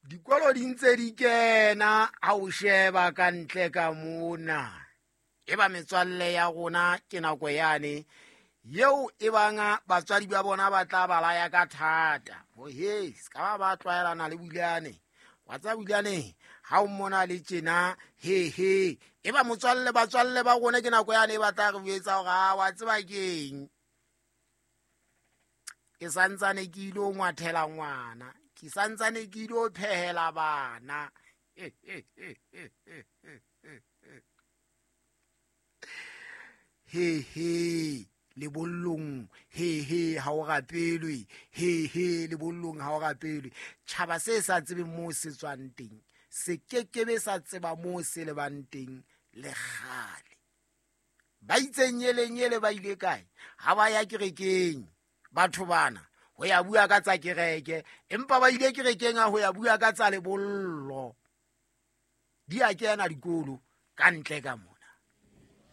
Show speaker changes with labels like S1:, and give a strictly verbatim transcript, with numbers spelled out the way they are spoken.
S1: Dikolo di ntse di kena ha o sheba ka ntle ka mona. E ba metswalle ya rona ke nako yane yeo e bang batswadi ba bona ba tla ba laya ka thata. Ho he, se ka ba ba tlwaelana le Bulane. Wa tseba Bulane ha o mmona le tjena, he he. E ba motswalle, batswalle ba rona ke nako yane e ba tla re jwetsa hore ha wa tseba keng. Ke santsane ke ilo ngwathela ngwana. Ke santsane ke ilo phehela bana. He he, lebollong, he he, ha o rapelwe. He he, lebollong ha o rapelwe. Tjhaba se sa tsebeng moo se tswang teng, se kekebe sa tseba moo se lebang teng le kgale. Ba itseng nyele nyele ba ile kae? Ha ba ya kerekeng batho bana ho ya bua ka tsa kereke, empa ba ile kerekeng ha ho ya bua ka tsa lebollo. Di a kena dikolo ka ntle ka mona.